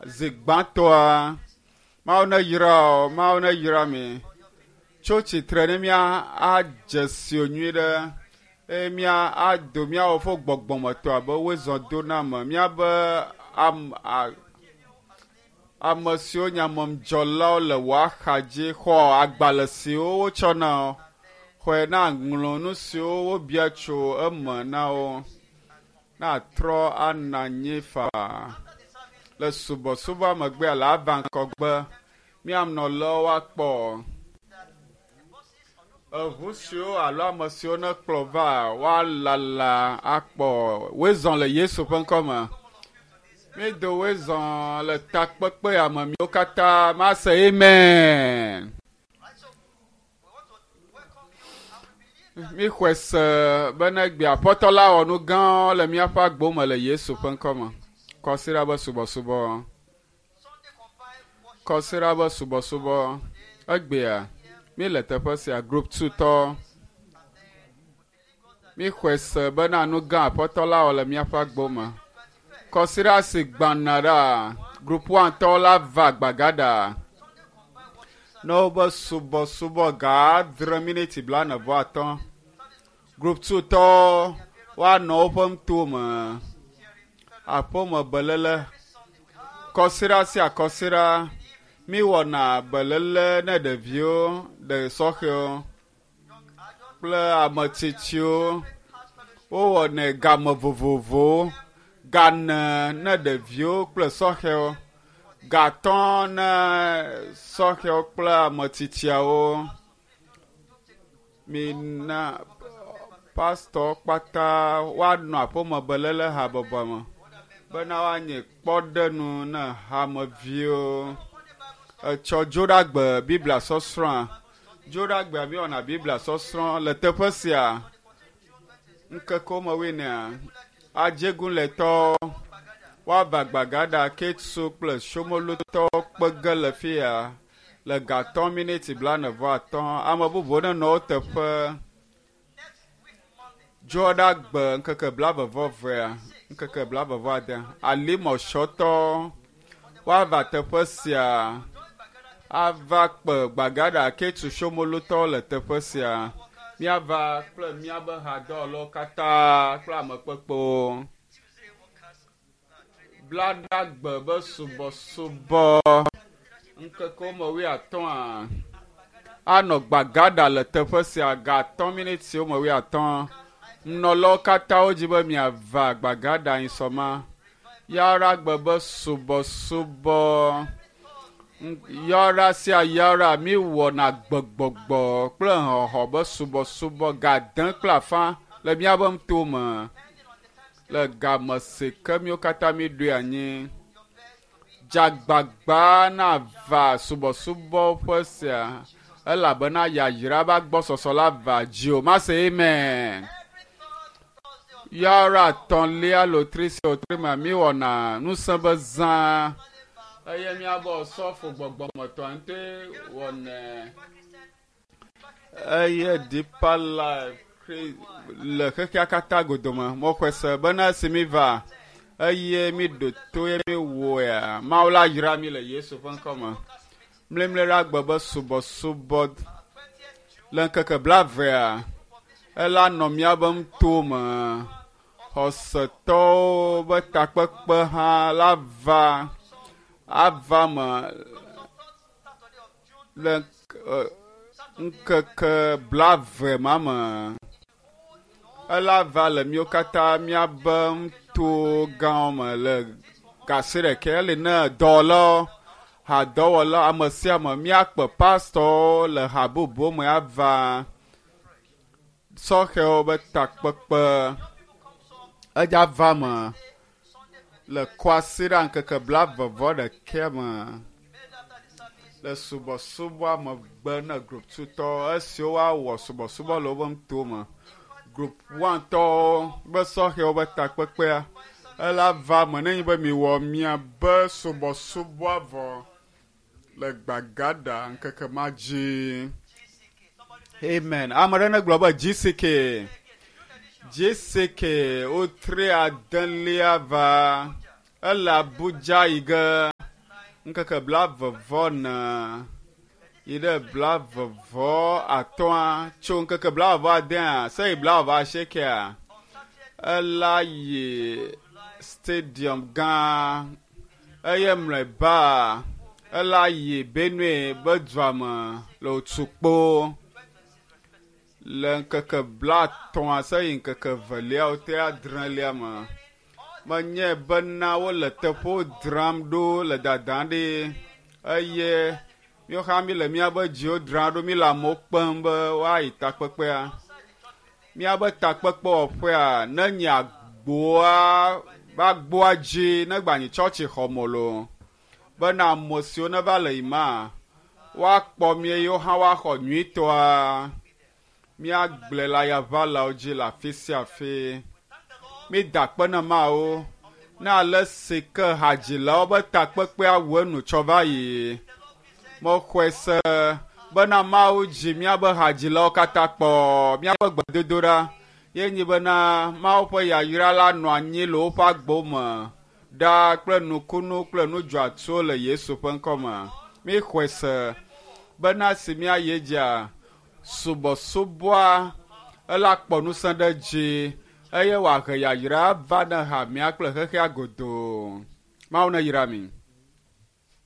Zi gbãtɔa, Mawu neyra wò, Mawu neyra mi. Tso tsitre ne mía adze si wò nyuie ɖe eye mía ado míawo ƒe gbɔgbɔmetɔ abe woezɔ do na me. Míabe am, a, ame siwo nye amemdzɔlawo le wò axa dzi xɔ agbalẽ siwo wotsɔ na wo. Xɔe na ŋlɔ nu siwo wobia tso eme na wo. Na trɔ ana anyi faa. Le subɔsubɔa megbea le ava ŋkɔgbe míanɔ woakpɔ eʋu siwo alo ame siwo ne kplɔ va woalala akpɔ woezɔ le Yesu ƒe ŋkɔme. Mído woezɔ le takpekpe ya me míwo katã mase amen. Right, so we want to welcome you and we believe that Míxɔe se bena egbe aƒetɔ la wɔ nu gãwo le míaƒe agbo me le Yesu ƒe ŋkɔme. Kɔsiɖa be subɔsubɔ. Sunday combined worship Kɔsiɖa be subɔsubɔ. Egbea míele teƒe sia group 2 tɔ. and then we believe God that Míxɔe se bena nu gã aƒetɔ la wɔ le míaƒe agbo me. 21st Kɔsiɖa si gbana ɖa group 1 tɔwo la va gbagada. Sunday combined worship service Ne wobe subɔsubɔ ga adre miniti blaene vɔ atɔ̃. Group 2 tɔwo woanɔ woƒe ŋutome. Aƒeme belele. Sunday we have Kɔsiɖa sia kɔsiɖa míwɔna belele ne ɖeviwo, ɖe sɔhɛwo young adults kple ame tsitsiwo. house fellowship Wowɔnɛ game vovovowo. Gane ne ɖeviwo kple sɔhɛwo. Gatɔ ne sɔhɛwo kple ame tsitsiawo. Mina pastɔ kpata woanɔ aƒeme belele habɔbɔ me bena woanye kpɔɖenu ne hameviwo. Etsɔ Dzoɖagbe Biblia sɔsrɔ̃a. Dzoɖagbea míewɔna Biblia sɔsrɔ̃ le teƒe sia. Ŋkekewo me woenea, Adzeguletɔwo woava Gbagada, Ketsu kple Somolutɔwo kpe ge le fi ya le gatɔ miniti blaene vɔ atɔ̃. Ame bubuwo nenɔ wo teƒe. next week Monday Dzoɖagbe ŋkeke blaeve vɔ evea, ŋkeke blaeve vɔ ade, Alimɔsɔtɔ woava teƒe sia join Bagada ava kpe Gbagada, Ketsu, Somolutɔwo le teƒe sia. Míava kple míabe hadɔwɔlawo katã kple amekpekpewo. Tuesday workers training Blaɖagbe be subɔsubɔ ŋkekewo me wuiatɔ̃a anɔ Gbagada le teƒe sia gatɔ̃ minitiwo me wuiatɔ̃. Nunɔlawo katã wodzi be miava Gbagada nyisɔma. Yaɖagbe be subɔsubɔ yɔɖa sia yɔɖa míwɔna gbegbɔgbɔ kple xɔxɔ be subɔsubɔ gade kple afã le míaƒe ŋutome le game si ke míwo katã míeɖoe anyi. Dzagbagba nava subɔsubɔ ƒe sia elabena yayra be agbɔsɔsɔ la va dziwò. Mase amen. every third Thursday of Yɔɖa tɔ̃lia lotri sia lotri mea míewɔna ŋusẽ be zã eye míabe osɔfo gbɔgbɔmetɔ ŋutɔe wɔnɛ. Christian Eye Deeper Life Chri- le xexea katã godome. Mexɔe se bena esi míva eye míɖo to ye míwɔea, Mawu la yra mí le Yesu ƒe ŋkɔme. Mlimli ɖe agbe be subɔsubɔ le ŋkeke blaevea, ela nɔ míabe ŋutome. Xɔsetɔwo be takpekpe hã la va ava me Saturday of June le ŋk- ŋkeke blaeve ma me. Ela va le míwo katã míabe ŋuto gãwo me le gasi ɖeka ele ne dɔwɔlawo, hadɔwɔlawo, ame sia ame míakpe pastɔwo le ha bubuwo me ava sɔhɛwo be takpekpe edza va me le kwasiɖa ŋkeke blaeve vɔ ɖekɛ me immediately after the service le subɔsubɔa megbe ne group 2 tɔwo esiwo woawɔ subɔsubɔ le woƒe ŋutome. Group 1 tɔwo be sɔhɛwo be takpekpea ela va me nenye be miwɔ miabe subɔsubɔa vɔ le Gbagada ŋkeke ma dzi. GCK somebody say Amen. Ame ɖe negblɔ be GCK. GCK wotri adelia va ele Abuja yi ge. Ŋkeke blaeve-vɔ-ene yi ɖe blaeve-vɔ-atɔ̃a tso ŋkeke blaeve-vɔ-adea se yi blaeve-vɔ-asiekea ela yi stadium gã eye mlɔeba ela yi Benue be dua me le Otukpo le ŋkeke blatɔ̃a se yi ŋkeke eveliawo te adrelia me. Menye bena wole teƒewo dzram ɖo le dadam ɖi eye míawo hã míle míaƒe dziwo dzram ɖo míle amewo kpem be woayi takpekpea. Míaƒe takpekpewɔƒea ne nye agboa be agboa dzi ne gbanyi tsɔtsixɔme loo bena ame siwo neva le yima woakpɔ mí eye wo hã woaxɔ nyuitɔa. Míagblɔe le ayaʋalawo dzi le afi sia afi. Mída akpe na Mawu ne ale si ke hadzilawo be takpekpea wu enu tsɔ va yi. Mexɔe se bena Mawu dzi míaƒe hadzilawo katã kpɔ. Míaƒe gbedodoɖa ye nyi bena Mawu ƒe yayra la nɔ anyi le woƒe agbewo me ɖaa kple nukunu kple nudzɔatsuwo le Yesu ƒe ŋkɔ me. Míxɔe se bena si míayi edzia subɔsubɔa ela kpɔ ŋusẽ ɖe edzi eye wòahe yayra va ne hamea kple xexea godoo. Mawu neyra mi.